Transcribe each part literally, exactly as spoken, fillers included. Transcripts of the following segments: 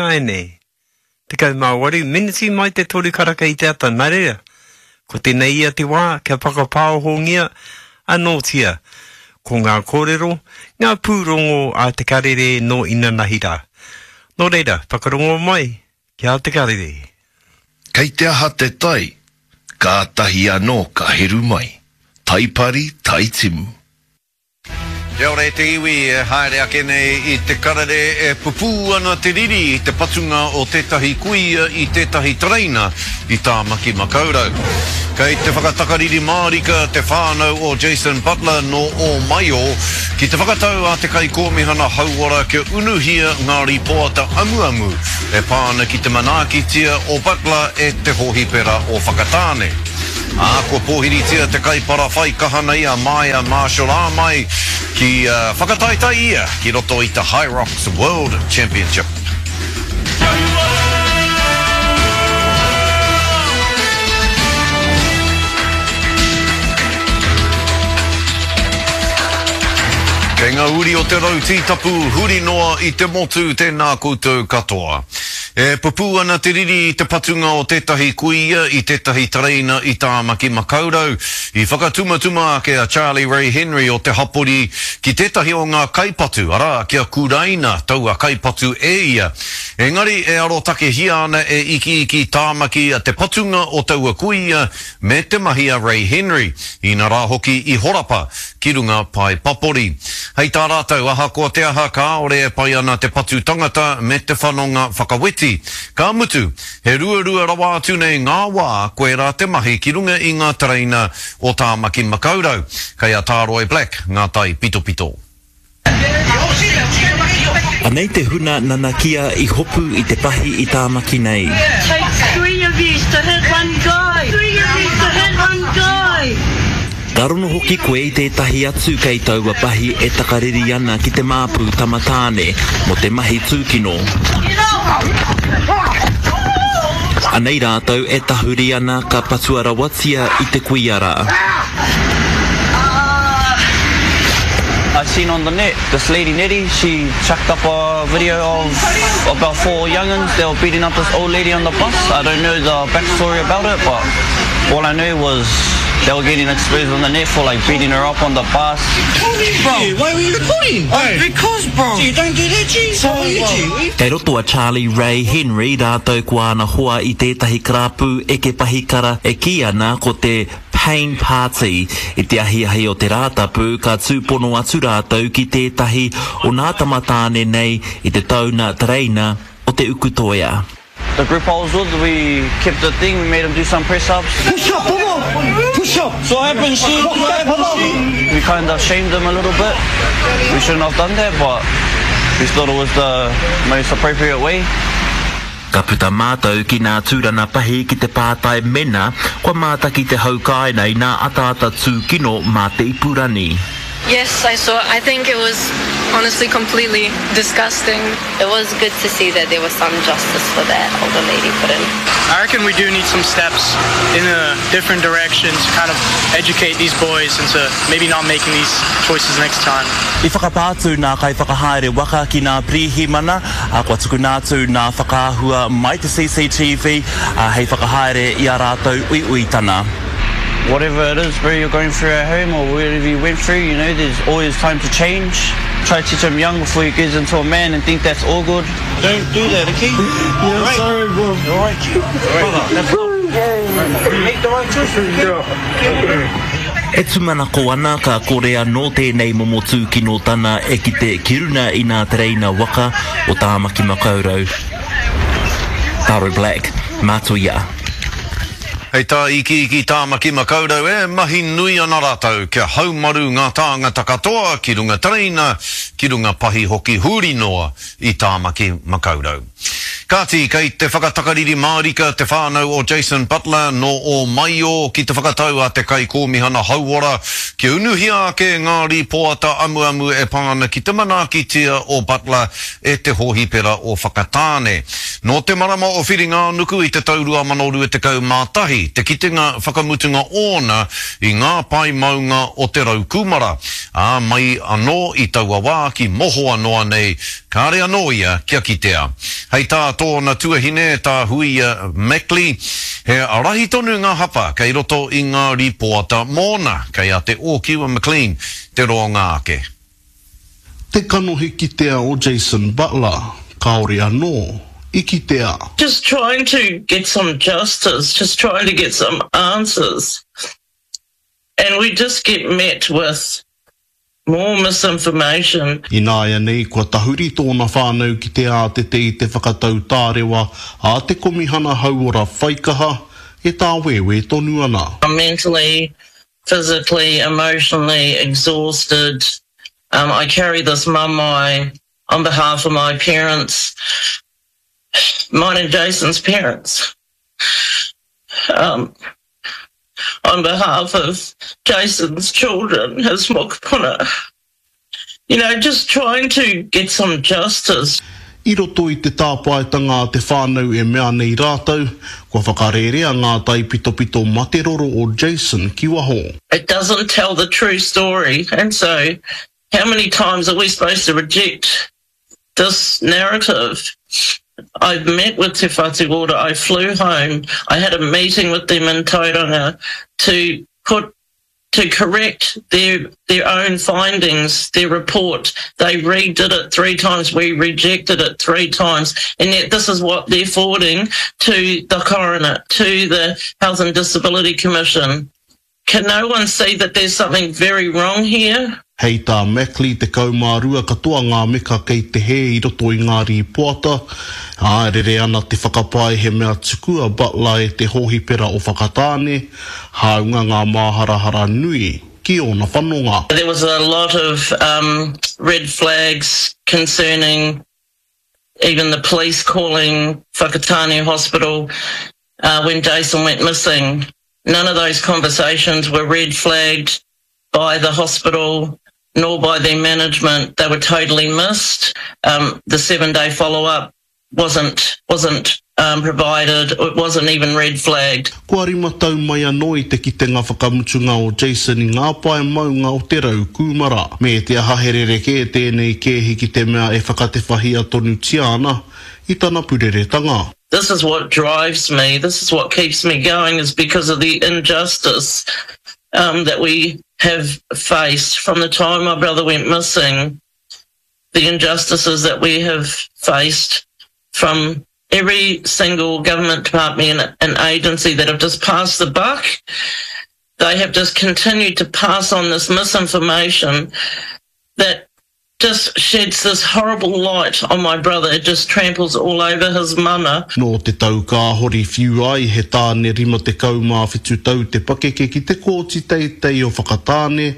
ināianei. Tekau mā waru meneti mai te toru karaka i te ata, nā reira, ko tēnei ia te wā kia whakapāohongia anōtia ko ngā kōrero, ngā pūrongo a Te Karere nō inanahi rā. Nō reira, whakarongo mai ki a Te Karere. Kei te aha te tai, kātahi anō ka heru mai. Tai pari, tai timu. Kia ora e te iwi, e haere ake nei i Te Karere e pupū ana te riri i te patunga o tētahi kuia i tētahi tereina i Tāmaki Makaurau. Kei te whakatakariri mārika te whānau o Jason Butler nō Ōmaio ki te whakatau a te Kaikōmihana Hauora kia unuhia ngā rīpoata amuamu e pā ana ki te manaakitia o Butler e te hōhipera o Whakatāne. Ā, kua pōhiritia te kaipara whai kaha nei a Maia Marshall-Āmai ki whakataetae ia ki roto i te Hyrox World Championship. Kei ngā uri o te rau tītapu huri noa i te motu tēnā koutou katoa. E pupū ana te riri i te patunga o tētahi kuia i tētahi tereina i Tāmaki Makaurau. I whakatumatuma ake a Charlie Ray Henry o te hapori ki tētahi o ngā kaipatu, arā, kia kuraina taua kaipatu e ia. Engari e arotakehia ana e Ikiiki Tāmaki te patunga o taua kuia me te mahi a Ray Henry, inarā hoki i horapa ki runga pae papori. Hei tā rātou, ahakoa te aha, kāore e pai ana te patu tangata me te whanonga whakaweti. Ka mutu, he ruarua rawa atu nei ngā wā koirā te mahi ki runga i ngā tereina o Tāmaki Makaurau. Kei a Tāroi Black ngā tai pitopito. Anei te huna nanakia i hopu i te pahi i Tāmaki nei. Takes three of yous to hit one guy! Three of yous to hit one guy! Ka rono hoki koe i tētahi atu kei taua pahi e takariri ana ki te māpu tama tāne mō te mahi tūkino. Anei rātou e tahuri ana ka patua rawatia i te kuia rā. I seen on the net this lady Nettie, she chucked up a video of about four young'uns that were beating up this old lady on the bus. I don't know the backstory about it, but all I knew was they were getting exposed on the net for like beating her up on the bus. Bro, why were you recording? Because bro. Gee, don't do that, G. Sorry, Kei roto a Charlie Ray Henry rātou ko āna hoa i tētahi karapu eke pahikara e kī ana ko te Pain Party. I te ahiahi o te Rātapu ka tūpono atu rātou ki tētahi o nā tama tāne nei i te tauna tereina o Te Ukutoea. The group I was with, we kept the thing, we made him do some press ups. Push up, brother! Push up! So what happened, she? What happened, she? We kind of shamed him a little bit. We shouldn't have done that, but we thought it was the most appropriate way. Ka puta mātou ki nā tūrana pahi ki te pātai mena kua mātaki te hau kāinga i nā ataata tūkino mā te ipurani. Yes, I saw it. I think it was honestly completely disgusting. It was good to see that there was some justice for that older lady put in. I reckon we do need some steps in a different direction to kind of educate these boys into maybe not making these choices next time. I whakapā atu nā kaiwhakahaere waka ki nā pirihimana, ā, kua tukuna atu nā whakaahua mai te C C T V, ā, hei whakahaere i ā rātou uiuitana. Whatever it is, bro, you're going through at home or whatever you went through, you know, there's always time to change. Try to teach him young before he gets into a man and think that's all good. Don't do that, okay? Yeah, right. Sorry, bro. All right, brother, that's all. Make the right choice. Okay. E tūmanako ana ka kore anō tēnei momo tūkinotana e kite ki runa i nā tereina waka o Tāmaki Makaurau. Taro Black, Mātuia. Hei tā Ikiiki Tāmaki Makaurau e mahi nui ana rātou kia haumaru ngā tāngata katoa ki runga tereina, ki runga pahi hoki huri noa i Tāmaki Makaurau. Kāti, kei te whakatakariri mārika te whānau o Jason Butler nō Ōmaio ki te whakatau a te Kaikōmihana Hauora kia unuhia ake ngā rīpoata amuamu e pā ana ki te manaakitia o Butler e te hōhipera o Whakatāne. Nō te marama o Whiringa-ā-nuku i te tau rua mano rua tekau mā tahi te kitenga whakamutunga ōna i ngā pae maunga o Te Raukūmara, ā, mai anō i taua wā ki mohoa noa nei, kāre anō ia kia kitea. Hei tā tōna tuahine, tā Huia Mackley, he rahi tonu ngā hapa kei roto i ngā rīpoata mōna, kei a Te Ōkiwa McLean te roanga ake. Te kanohi kitea o Jason Butler, kāore anō i kitea. Just trying to get some justice, just trying to get some answers and we just get met with more misinformation. Ināianei kua tahuri tōna whānau ki te ātete i te whakatau tārewa a te Komihana Hauora Whaikaha e tāwēwē tonu ana. I'm mentally, physically, emotionally exhausted. Um, I carry this mamae on behalf of my parents, mine and Jason's parents. Um, on behalf of Jason's children, his mokopuna. You know, just trying to get some justice. I roto i te tāpaetanga a te whānau e mea nei rātou, kua whakarērea ngā taipitopito mate roro o Jason ki waho. It doesn't tell the true story, and so how many times are we supposed to reject this narrative? I've met with Te Whatu Ora, I flew home, I had a meeting with them in Tauranga to put to correct their their own findings, their report. They redid it three times, we rejected it three times, and yet this is what they're forwarding to the coroner, to the Health and Disability Commission. Can no one see that there's something very wrong here? Hei tā Mackley, tekau mā rua katoa ngā meka kei te hē i roto i ngā rīpoata, ā, e rere ana te whakapae he mea tuku a Butler e te hōhipera o Whakatāne, hāunga ngā māharahara nui ki ōna whanonga. There was a lot of um, red flags concerning even the police calling Whakatāne Hospital uh, when Jason went missing. None of those conversations were red flagged by the hospital nor by their management. They were totally missed. Um, the seven-day follow-up wasn't, wasn't um, provided. It wasn't even red flagged. Kua rima tau mai anō i te kitenga whakamutunga o Jason i ngā pae maunga o Te Rau Kūmara. Me te aha he rerekē tēnei kēhi ki te mea e whakatewhahia tonutia ana i tana pureretanga. This is what drives me, this is what keeps me going, is because of the injustice um, that we have faced from the time my brother went missing, the injustices that we have faced from every single government department and agency that have just passed the buck. They have just continued to pass on this misinformation that just sheds this horrible light on my brother. It just tramples all over his mana. Nō te tau kāhori whiu ai he tāne rima tekau mā whitu tau te pakeke ki te kōti teitei o Whakatāne,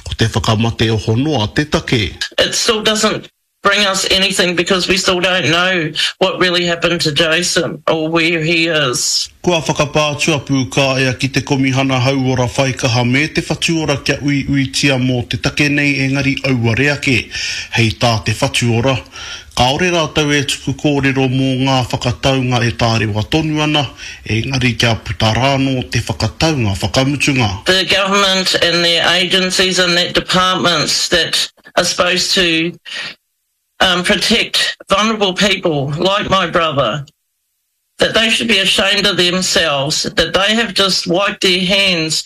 ko te whakamate oho noa te take. It still doesn't bring us anything because we still don't know what really happened to Jason or where he is. Kua whakapā atu a Pūkāea ki te Komihana Hauora Whaikaha me te Whatu Ora kia uiuitia mō te take nei engari auare ake, hei tā te Whatu Ora. Kāore rātou e tuku kōrero mō ngā whakataunga e tārewa tonu ana, engari kia puta rānō te whakataunga whakamutunga. The government and their agencies and their departments that are supposed to um, protect vulnerable people like my brother, that they should be ashamed of themselves, that they have just wiped their hands,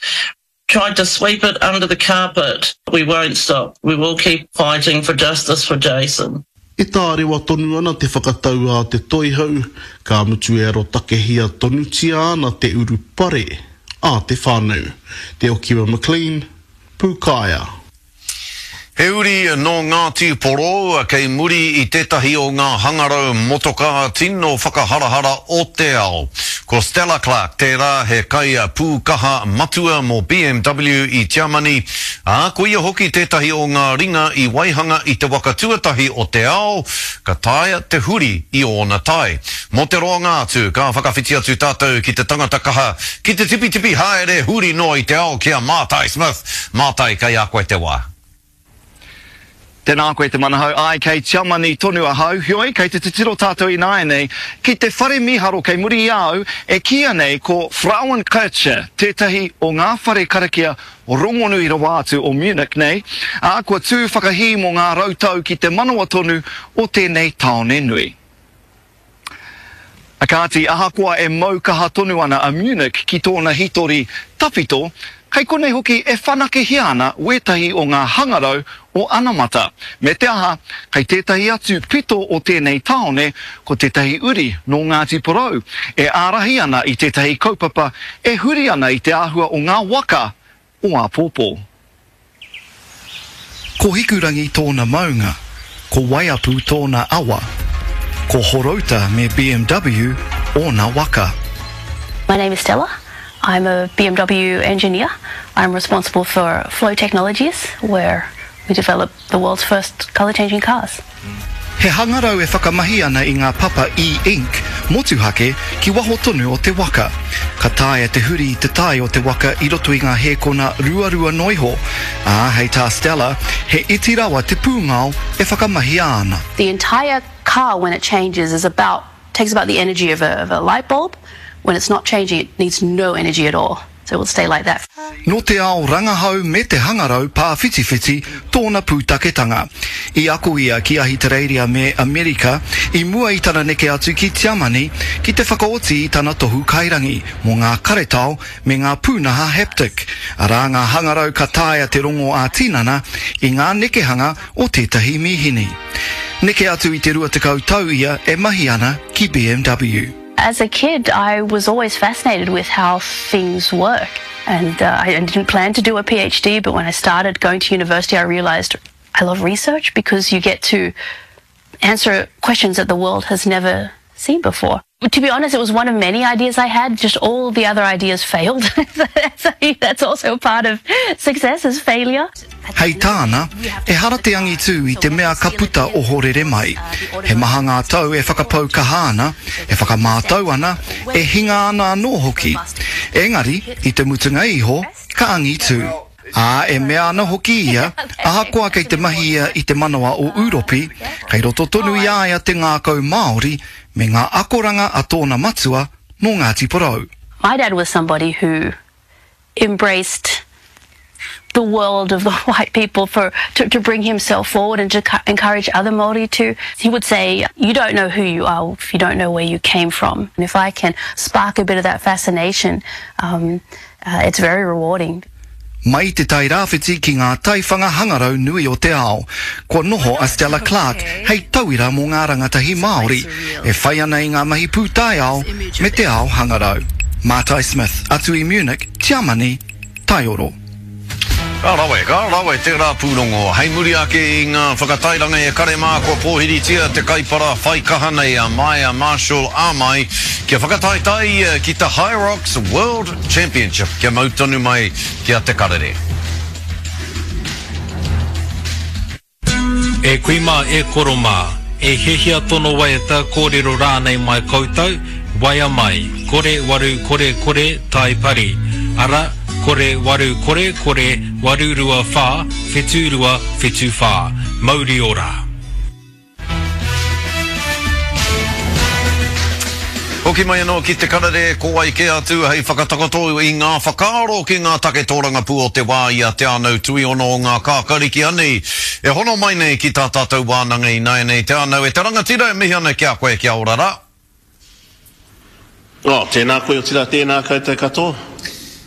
tried to sweep it under the carpet. We won't stop. We will keep fighting for justice for Jason. E tārewa tonu ana te whakatau a te toihau, ka mutu e arotakehia tonutia ana te urupare a te whānau. Te Okiwa McLean, Pūkāea. He uri nō Ngāti Porou kei muri i tētahi o ngā hangarau motokā tino whakaharahara o te ao. Ko Stella Clark tērā he kai pūkaha matua mō B M W i Tiamani, ā, ko ia hoki tētahi o ngā ringa i waihanga i te waka tuatahi o te ao, ka taea te huri i ōna tai. Mō te roanga atu, ka whakawhiti atu tātou ki te tangata kaha, ki te tipitipi haere huri noa i te ao ki a Mātai Smith. Mātai, kei a koe te wā. Tēnā koe Te Manahau, āe kei Tiamani tonu ahau, heoi kei te titiro tātou ināianei ki te whare mīharo kei muri i a au e kīia nei ko Frauenkirche, tētahi o ngā whare karakia rongonui rawa atu o Munich nei, ā, kua tū whakahī mō ngā rau tau ki te manawa tonu o tēnei tāone nui. A kāti, ahakoa e mau kaha tonu ana a Munich ki tōna hitori tawhito, kei konei hoki e whanakehia ana wētahi o ngā hangarau o anamata. Me te aha, kei tētahi atu pito o tēnei tāone ko tētahi uri nō Ngāti Porou e ārahi ana i tētahi kaupapa e huri ana i te āhua o ngā waka o āpōpō. Ko Hikurangi tōna maunga, ko Waiapu tōna awa, ko Horouta me B M W ōna waka. My name is Stella. I'm a B M W engineer. I'm responsible for Flow Technologies, where we develop the world's first colour-changing cars. He hangarau e whakamahi ana i ngā papa e-ink motuhake ki waho tonu o te waka. Ka taea te huri i te tae o te waka i roto i ngā hēkona ruarua noiho, ā, hei tā Stella, he iti rawa te pūngao e whakamahia ana. The entire car, when it changes, is about, takes about the energy of a, of a light bulb. When it's not changing, it needs no energy at all. So it will stay like that. Nō te ao rangahau me te hangarau pāwhitiwhiti tōna pūtaketanga. I ako ia ki Ahitereiria me Amerika i mua i tana neke atu ki Tiamani ki te whakaoti i tana tohu kairangi mō ngā karetao me ngā pūnaha haptic, arā ngā hangarau ka taea te rongo ā-tinana i ngā nekehanga o tētahi mīhini. Neke atu i te rua tekau tau ia e mahi ana ki B M W. As a kid, I was always fascinated with how things work. And, uh, I didn't plan to do a PhD, but when I started going to university, I realized I love research because you get to answer questions that the world has never seen before. To be honest, it was one of many ideas I had. Just all the other ideas failed. That's, that's also part of success is failure. Hei tāna, e hara te angitū i te mea ka puta ohorere mai. He maha ngā tau e whakapau kaha ana, e whakamātau ana, e hinga ana anō hoki. Engari, i te mutunga iho, ka angitū. Ā, e mea ana hoki ia, ahakoa kei te mahi ia i te manawa o Uropi, kei roto tonu i a ia te ngākau Māori me ngā akoranga a tōna matua nō Ngāti Porou. My dad was somebody who embraced the world of the white people for to, to bring himself forward and to encourage other Māori to. He would say, you don't know who you are if you don't know where you came from. And if I can spark a bit of that fascination, um, uh, it's very rewarding. Mai te tairāwhiti ki ngā taiwhanga hangarau nui o te ao. Kua noho a Stella Clark hei tauira mō ngā rangatahi Māori, e whai ana i ngā mahi pūtaiao me te ao hangarau. Mātai Smith, atu i Munich, Tiamani, Taioro. Ka rawe, ka rawe tērā pūrongo. Hei muri ake i ngā whakatairanga e kare mā kua pōhiritia te kaipara whai kaha nei a Maia Marshall Amai kia whakataitai ia ki te Hyrox World Championship kia mau tonu mai ki a Te Karere. E kui mā, e koro mā, e hiahia tono waiata kōrero rānei mai koutou, waia mai, kore waru kore kore tai pari. Ara, kore waru kore kore waru rua whā, whetu rua whetu whā. Mauri ora. Hoki mai anō ki Te Karere, ko wai kē atu hei whakatakoto i ngā whakaaro ki ngā take tōrangapū o te wā i a Te Anau Tuiono o ngā kākariki anei. E hono mai nei ki tā tātou wānanga i nāianei Te Anau e te rangatira e mihi ana ki a koe kia ora rā. Oh, tēnā koe o tira, tēnā koutou katoa.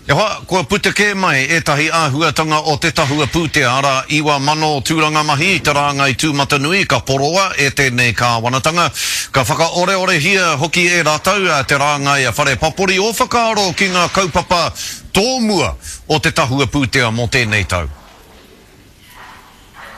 E hoa, kua puta kē mai ētahi āhuatanga o te tahua pūtea, arā iwa mano tūranga mahi i te rāngai tūmatanui ka poroa e tēnei kāwanatanga. Ka whakaoreorehia hoki e rātou te rāngai a whare papori o whakaaro ki ngā kaupapa tōmua o te tahua pūtea mō tēnei tau.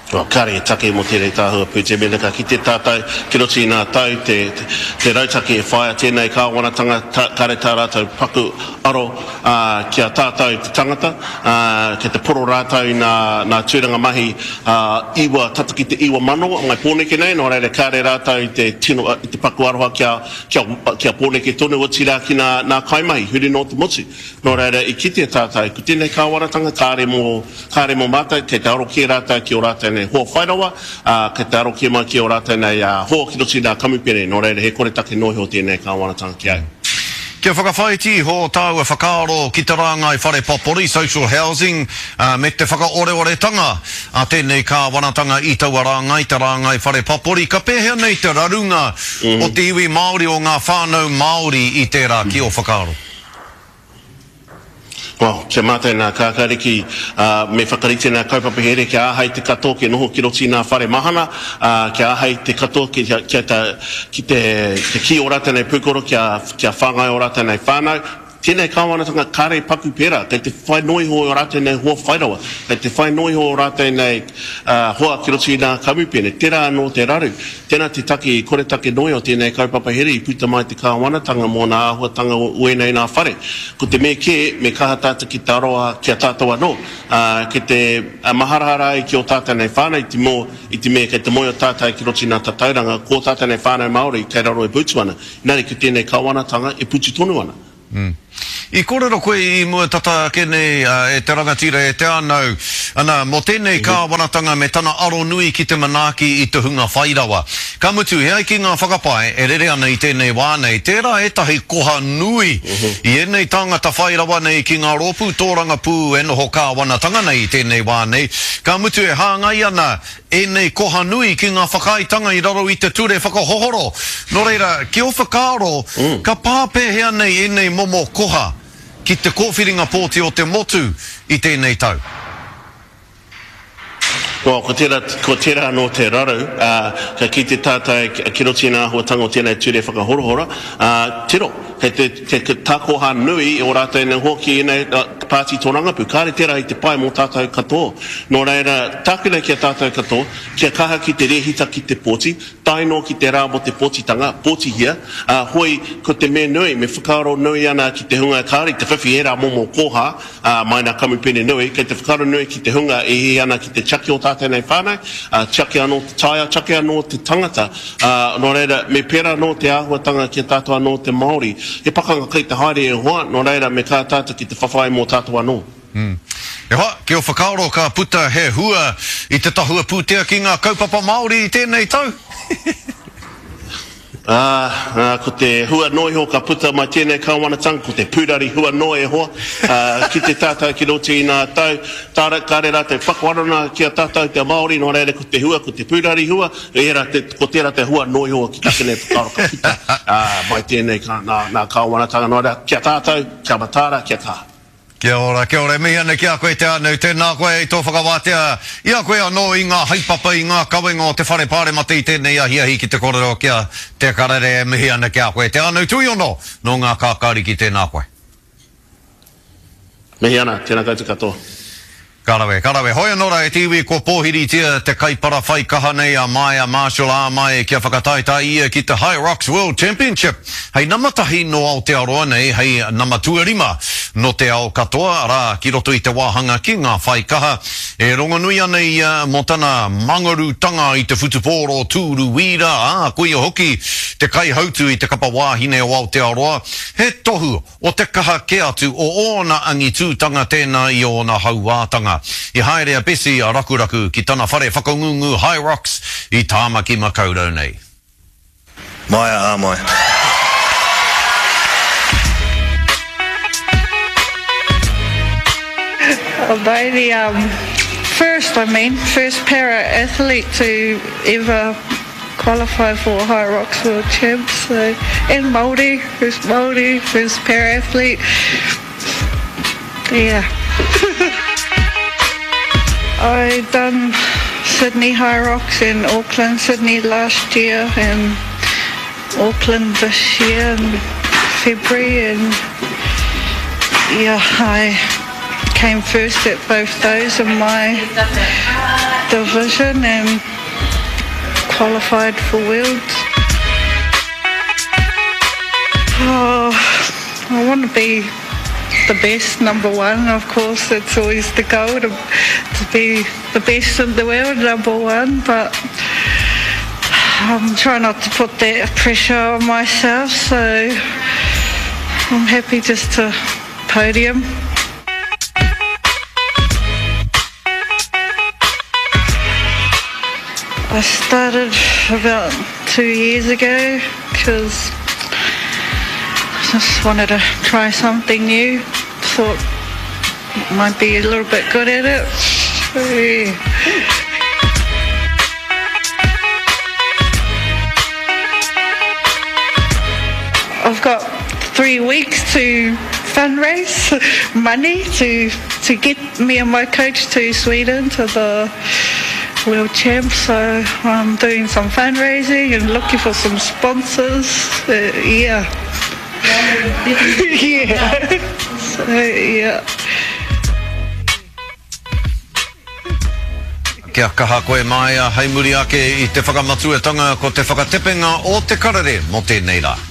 Well, kāre e take mō tēnei tahua pūtea, mēnā ka kite tātou ki roto i ngā tau te, te, te rautaki e whaia tēnei kāwanatanga, ta, kāre tā rātou paku aro uh, ki a tātou te tangata, uh, ki te poro rātou nā, nā tūranga mahi uh, iwa, tata ki te iwa mano ngai Pōneke nei, nō reira kāre rātou i te, tino, i te paku aroha kia, kia, kia Pōneke tonu o tirā ki nā, nā kaimahi, huri nō te motu. Nō reira i kite tātou, ko tēnei kāwanatanga kāre mō, kāre mō mātou, kei te aro kē rātou ki o rātou nei hoa whairawa, ā, kei te aro kē mai ki ō rātou nei hoa ki roto i ngā kamupene, nō reira he koretake noa iho tēnei kāwanatanga ki au. Kia whakawhāiti iho tāua whakaaro ki te rāngai whare papori, social housing, me te whakaoreoretanga a tēnei kāwanatanga i taua rāngai, te rāngai whare papori, ka pēhea nei te rarunga o te iwi Māori, o ngā whānau Māori i tērā, ki ō whakaaro? Well, kia mātou nā Kākāriki, ā, me whakarite nā kaupapa here kia āhei te katoa kia noho ki roto i nā whare mahana, ā, kia āhei te katoa ki, kia ta, ki te, te kī o rātou nei pūkoro, kia, kia whāngai o rātou nei whānau. Tēnei kāwanatanga kāre paku pērā, kei te whai noa iho o rātou nei hoa whairawa, kei te whai noa iho o rātou nei, ā, hoa ki roto i nā kamupene. Tērā anō te raru. Tēnā te take i koretake noa iho tēnei kaupapa here i puta mai te kāwanatanga mō nā āhuatanga o ēnei nā whare. Ko te mea kē, me kaha tātou ki te aroha ki a tātou anō, ā, ki te maharahara ai ki ō tātou nei whānau i te mō, i te mea kei te moe o tātou ki roto i nā tatauranga, ko ō tātou nei whānau Māori kei raro e putu ana. Engari ko tēnei kāwanatanga e putu tonu ana. Mm. I kōrero koe i mua tata ake nei, e te rangatira, e Te Anau, ana, mō tēnei kāwanatanga me tana aro nui ki te manaaki i te hunga whairawa. Ka mutu, e ai ki ngā whakapae e rere ana i tēnei wā nei, tērā ētahi koha nui i ēnei tāngata whairawa nei ki ngā rōpū tōrangapū e noho kāwanatanga nei i tēnei wā nei, ka mutu e hāngai ana ēnei koha nui ki ngā whakaaetanga i raro i te ture whakahohoro. Nō reira, ki ō whakaaro, ka pā pēhea nei ēnei momo koha ki te kōwhiringa pōti o te motu i tēnei tau? Well, ko tērā, ko tērā anō te raru, ā, ka kite tātou ki roto i ngā āhuatanga o tēnei ture whakahorohoro, ā, tiro, kei te, kei te takoha nui o rātou nei hoa ki ēnei pāti tōrangapū. Kāre tērā i te pai mō tātou katoa. Nō reira, tākina ki a tātou katoa, kia kaha ki te rēhita ki te pōti, tae noa ki te rā mō te pōtitanga, pōtihia, ā, hoi, ko te mea nui, me whakaaro nui ana ki te hunga kāre i te whiwhi ērā momo koha, ā, mai nā kamupene nui, kei te whakaaro nui ki te hunga e hihi ana ki te tiaki o tātou nei whānau, ā, tiaki anō te taiao, tiaki anō te tangata, ā, nō reira, me pērā anō te āhuatanga ki a tātou anō te Māori. He pakanga kei te haere e hoa, nō reira, me kaha tātou ki te whawhai mō tātou anō. Mm. E hoa, ki ō whakaaro ka puta he hua i te tahua pūtea ki ngā kaupapa Māori i tēnei tau? Ā, ā, ko te hua noa iho ka puta mai tēnei kāwanatanga, ko te pūrari hua noa e hoa, ā, ki te tātou ki roto i ngā tau, tāra, kāre rātou whakawarana ki a tātou te Māori, nō reira ko te hua, ko te pūrari hua, ērā te, ko tērā te hua noa iho ki take nei whakaaro ka puta, ā, mai tēnei kā, nā, nā kāwanatanga, nō reira, ki a tātou, kia mataara, kia kaha. Kia ora, kia ora. E mihi ana ki a koe Te Anau. Tēnā koe i tō whakawātea i a koe anō i ngā haepapa, i ngā kawenga o te Whare Pāremata i tēnei ahiahi ki te kōrero ki a Te Karere. E mihi ana ki a koe Te Anau Tuiono nō ngā kākāriki. Tēnā koe. Mihi ana, tēnā koutou katoa. Ka rawe, ka rawe. Hoi anō rā e te iwi kua pōhiritia te kaipara whai kaha nei a Maia Marshall Āmai kia whakataetae ia ki te Hyrox World Championship hei nama tahi nō Aotearoa nei, hei nama tuarima nō te ao katoa, arā, ki roto i te wāhanga ki ngā whai kaha. E rongonui ana ia mō tana mangarutanga i te whutupōro tūru wīra, ā, koia hoki te kaihautu i te kapa wāhine o Aotearoa, he tohu o te kaha kē atu o ōna angitūtanga tēnā i ōna hauātanga. I haere a Bessie a Rakuraku ki tana whare whakangungu Hyrox i Tāmaki Makaurau nei. Maia Āmai. Although the um, first, I mean, first para athlete to ever qualify for Hyrox World Champs, so, and Māori, first Māori, first para athlete. Yeah. I done Sydney Hyrox and Auckland, Sydney last year and Auckland this year in February, and yeah, I came first at both those in my division and qualified for Worlds. Oh, I want to be the best, number one, of course. It's always the goal to, to be the best in the world, number one, but I'm trying not to put that pressure on myself, so I'm happy just to podium. I started about two years ago because I just wanted to try something new. Thought might be a little bit good at it. Yeah. I've got three weeks to fundraise money to to get me and my coach to Sweden to the World Champs. So I'm doing some fundraising and looking for some sponsors. Uh, yeah. yeah. So, yeah. Kia kaha koe Maia, hei muri ake i te whakamatuatanga ko te whakatepenga o te karere mō tēnei rā.